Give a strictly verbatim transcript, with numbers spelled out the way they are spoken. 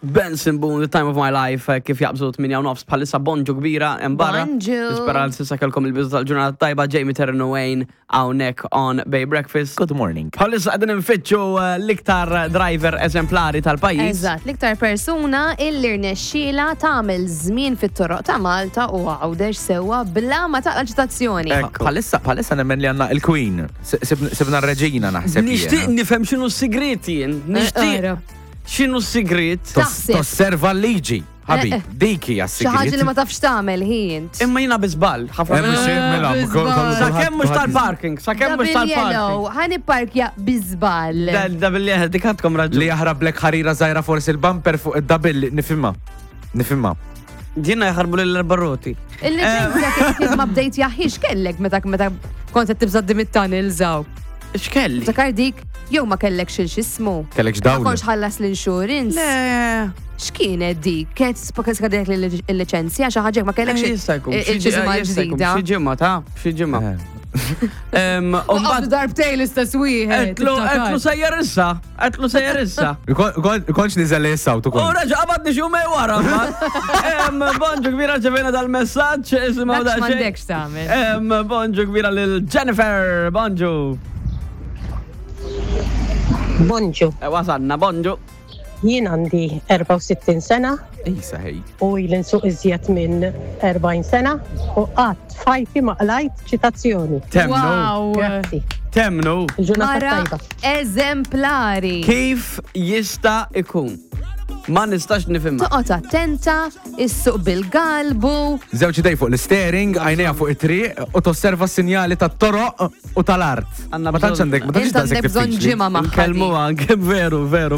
Benson Boone, The Time of My Life, eh, kif jaqbżu tmienja u nofs bħalissa. Bonġu kbira hemm barra. Bonġu. Nispera li s'issa kellkom il-bidu tal-ġurnata tajba. Jamie Terno Wayne hawnhekk on Bay Breakfast. Good morning. Bħalissa qegħdin nfittxu eh, l-iktar driver eżemplari tal-pajjiż. Eżatt, l-iktar persuna illi rnexxiela tagħmel żmien fit-toroq ta' Malta u Għawdex sewwa bla ma taqla ċitazzjoni. Ekku. Bħalissa, bħalissa nemmen li għandna il-Queen. S- sibna sibna r-reġina, naħseb Nixtieq jiena. nifhem x'inhu s-sigriet jien. Nixtieq. Ara. X'inhu s-sigriet? Tos- Taħseb. Tosserva l-liġi. Ħabib, Eh, eh. dik hija Xi ħaġa li s-sigriet. ma tafx tagħmel hi int. Imma jiena bi żball. Ħafna Hemm xejn mela, bi kol- żball. kol- Sakemm mhux tal-parking, sakemm mhux Double yellow, tal-parking. ħa nipparkja bi żball. Double yellow, dik għandkom raġun. Li jaħrablek ħarira żgħira forsi il-bumper fuq id-double, nifhimha. Nifhimha. Jiena jaħarbu l-barroti. Il-liċenzja kif ma bdejt jaħix kellek meta meta kont qed tibża' mit-tunnel żaw? X'kelli? Takar dik jew ma kellek xil x'ismu? Kellek Ma x'dawl. kontx ħallas l-insurance. Le. X'kienet dik? Kienet skadek il-liċenzja, xi ħaġa, ma kellekx Eh, Jista' jkun. xi il-ġimgħa ġi- jista' jkun, ġdida. xi ġimgħa ta' xi ġimgħa. Em, U u mbagħad qabdu darbtej l-istess wieħed. Għedtlu, għedtlu sejjer issa, għedtlu sejjer issa. Kontx niżel issa u U tukun. reġa qabadni xi jumejn wara mbagħad. Em, Bonġu kbira, ġevena dal-messaġġ, isimgħu Dak daqsxejn. m'għandekx tagħmel. Em, Bonġu kbira lil Jennifer, bonġu. Bonġu, E, Wasanna, bonġu. Jien għandi erbgħa u sittin sena Isa ħej. U ili nsuq iżjed minn erbgħin sena u qatt f'ħajti ma qlajt ċitazzjoni. Temnu, Wow. Grazzi. Temnu. Il-ġurnata Mara tajba. eżemplari. Kif jista' ikun? Ma nistax nifhimha. Toqgħod attenta, issuq bil-galbu. Żewġ idej fuq l-steering, għajnejha fuq it-triq u tosserva s-sinjali tat-toroq u tal-art. Għandna Ma tantx bżonn- għandek, ma tantx Int għandek daqshekk bżonn diffiċli. ġimgħa magħha. Nkellmu anke, veru, veru.